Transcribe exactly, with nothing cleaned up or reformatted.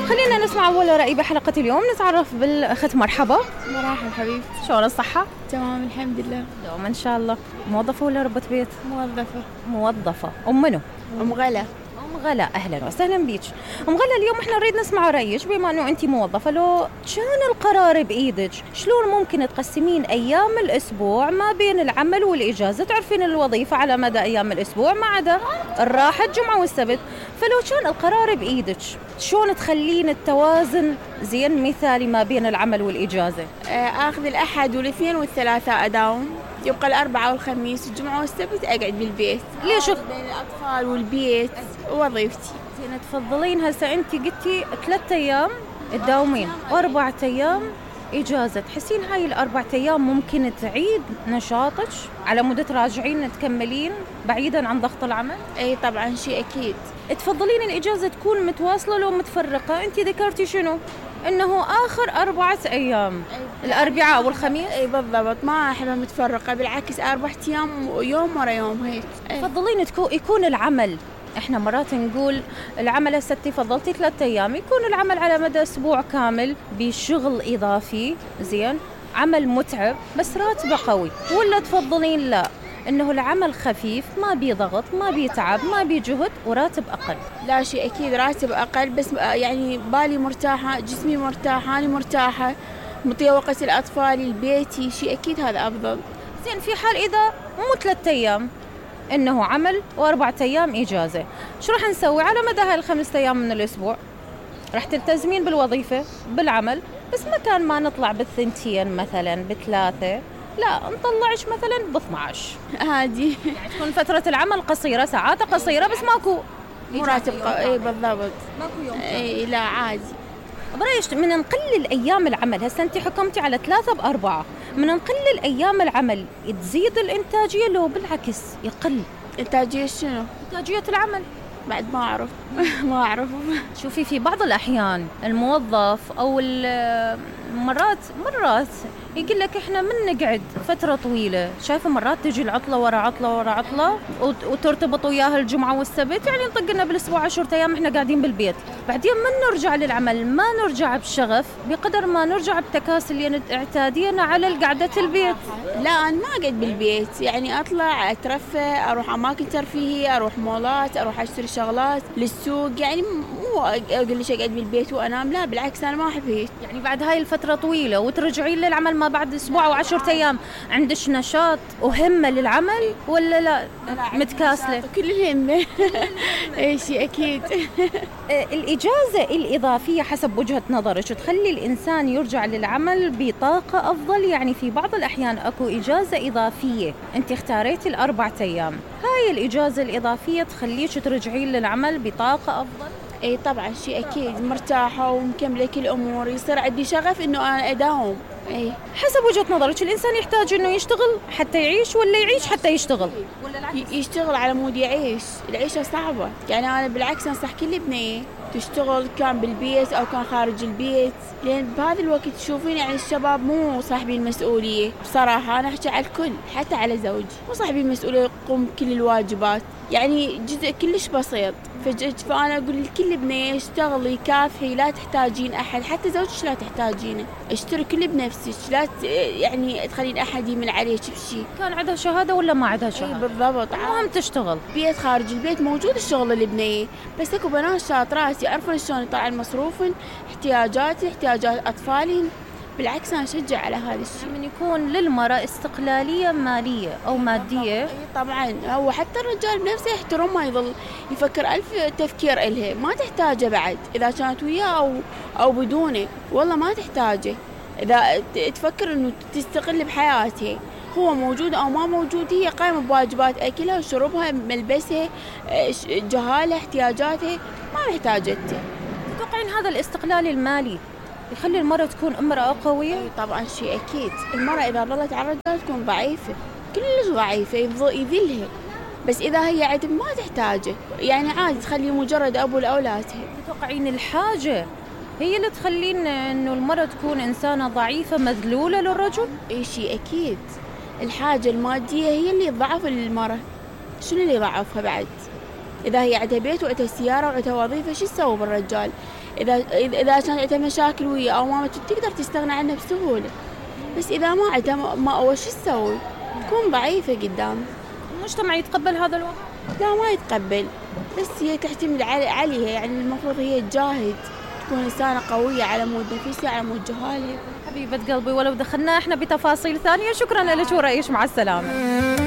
خلينا نسمع أول رأي بحلقة اليوم. نتعرف بالأخت. مرحبا. مرحبا حبيبتي. شلون الصحة؟ تمام الحمد لله. دوما إن شاء الله. موظفة ولا ربة بيت؟ موظفة. موظفة. أم منو؟ أم غلا. أم غلا، أهلا وسهلا بيك. أم غلا، اليوم إحنا نريد نسمع رأيك بما إنه أنتي موظفة. لو كان القرار بإيدك شلون ممكن تقسمين أيام الأسبوع ما بين العمل والإجازة؟ تعرفين الوظيفة على مدى أيام الأسبوع ما عدا الراحة الجمعة والسبت، فلو كان القرار بإيدك شلون تخلين التوازن زين مثالي ما بين العمل والإجازة؟ آخذ الأحد والاثنين والثلاثاء أداوم، يبقى الأربعاء والخميس والجمعة والسبت أقعد بالبيت. ليش؟ بين الأطفال والبيت ووظيفتي. زين، تفضلين هسه أنت قلتي ثلاثة أيام تداومين وأربعة أيام إجازة، تحسين هاي الأربعة أيام ممكن تعيد نشاطك على مدة راجعين تكملين بعيدا عن ضغط العمل؟ أي طبعا شيء أكيد. تفضلين الإجازة تكون متواصلة لو متفرقة؟ أنت ذكرتي شنو؟ إنه آخر أربعة أيام الأربعاء والخميس. أي بالضبط، ما أحبها متفرقة، بالعكس أربعة أيام يوم ورا يوم هيك. تفضلين يكون العمل، احنا مرات نقول العمل هسه فضلتي ثلاثة ايام، يكون العمل على مدى اسبوع كامل بشغل اضافي، زين، عمل متعب بس راتبه قوي، ولا تفضلين لا انه العمل خفيف ما بيه ضغط ما بيه تعب ما بيه جهد وراتب اقل؟ لا شيء اكيد راتب اقل، بس يعني بالي مرتاحه، جسمي مرتاح، انا مرتاحه، مطيه وقت الاطفال البيتي، شيء اكيد هذا افضل. زين، في حال اذا مو ثلاثة ايام انه عمل واربعة ايام اجازه، شو راح نسوي على مدى هالخمسة ايام من الاسبوع؟ راح تلتزمين بالوظيفه بالعمل، بس مكان ما نطلع بالثنتين مثلا بثلاثه، لا نطلعش مثلا ب اثني عشر عادي. يعني تكون فتره العمل قصيره، ساعات قصيره، بس ماكو مراتب. اي بالضبط، ماكو يوم. اي لا عادي. برأيك من نقلل ايام العمل، هسه انت حكمتي على ثلاثه باربعه، من نقلل ايام العمل تزيد الانتاجيه لو بالعكس يقل؟ انتاجيه شنو؟ انتاجيه العمل بعد ما اعرف. ما اعرف. شوفي، في بعض الاحيان الموظف او مرات مرات يقول لك احنا من نقعد فتره طويله، شايفه مرات تجي العطله ورا عطله ورا عطله وترتبط وياها الجمعه والسبت، يعني نطق لنا بالاسبوع عشرة ايام احنا قاعدين بالبيت، بعدين من نرجع للعمل ما نرجع بشغف بقدر ما نرجع بتكاسل يعني اعتادينا على قعده البيت. لا انا ما اقعد بالبيت، يعني اطلع اترفه، اروح اماكن ترفيهيه، اروح مولات، اروح اشتري شغلات للسوق، يعني مو اقول ليش اقعد بالبيت وانام، لا بالعكس انا ما احب هيك. يعني بعد هاي الفتره طويله وترجعين للعمل ما بعد اسبوع او عشرة ايام عندش نشاط وهمه للعمل ولا لا متكاسله؟ كل الهمه. اي شيء اكيد. الاجازه الاضافيه حسب وجهه نظرك تخلي الانسان يرجع للعمل بطاقه افضل؟ يعني في بعض الاحيان اكو اجازه اضافيه انت اختاريتي الاربعه ايام، هاي الاجازه الاضافيه تخليك ترجعين للعمل بطاقه افضل؟ اي طبعا شيء اكيد، مرتاحه ومكمله كل امور، يصير عندي شغف انه انا اداوم. اي حسب وجهه نظرك الانسان يحتاج انه يشتغل حتى يعيش ولا يعيش حتى يشتغل؟ ولا العكس؟ يشتغل على مود يعيش، العيشه صعبه، يعني انا بالعكس انصح كل بنيه تشتغل كان بالبيت او كان خارج البيت، لان بهذا الوقت تشوفين يعني الشباب مو صاحبين المسؤوليه، بصراحه انا احكي على الكل حتى على زوجي، مو صاحبين المسؤوليه يقوم بكل الواجبات، يعني جزء كلش بسيط، فانا اقول لكل بنيه اشتغلي كافحي، لا تحتاجين احد، حتى زوجك لا تحتاجينه، اشتري كل بنفسك، لا يعني تخلين احد يمن عليك بشيء. كان عندها شهاده ولا ما عندها شهاده؟ بالضبط، المهم تشتغل. بيت خارج البيت موجود الشغل البنيه، بس اكو بنات شاطرات يعرفون شلون يطلعون مصروفن، احتياجاتي احتياجات اطفالي، بالعكس انا اشجع على هذا الشيء. من يكون للمراه استقلاليه ماليه او ماديه. طبعا هو حتى الرجال بنفسه يحترم، ما يظل يفكر الف تفكير إلها، ما تحتاجه بعد اذا كانت وياه او او بدونه، والله ما تحتاجه، اذا تفكر انه تستقل بحياتها، هو موجود او ما موجود هي قائمه بواجبات اكلها وشربها ملبسها جهالها احتياجاتها، ما محتاجته. تتوقعين هذا الاستقلال المالي يخلي المرأة تكون امرأة قوية؟ طبعا شيء أكيد، المرأة إذا ظلت على الرجال تكون ضعيفة، كلش ضعيفة، يذلها، بس إذا هي عدم ما تحتاجه، يعني عادي تخلي مجرد أبو لأولادها. تتوقعين الحاجة هي اللي تخلين إنه المرأة تكون إنسانة ضعيفة مذلولة للرجل؟ إيه شيء أكيد، الحاجة المادية هي اللي تضعف المرأة، شنو اللي يضعفها بعد؟ إذا هي عندها بيت وعندها سيارة وعندها وظيفة، شو تسوي بالرجال؟ إذا إذا كانت عندها مشاكل وياه أو ما تقدر تستغنى عنه بسهولة، بس إذا ما عندها ما أول شو تسوي؟ تكون ضعيفة قدام. المجتمع يتقبل هذا الوضع؟ لا ما يتقبل، بس هي تعتمد على عليها، يعني المفروض هي تجاهد، تكون إنسانة قوية على مود نفسها على مود جهالها. حبيبة قلبي، ولو دخلنا احنا بتفاصيل ثانية. شكرا لك ورأيك، مع السلامة.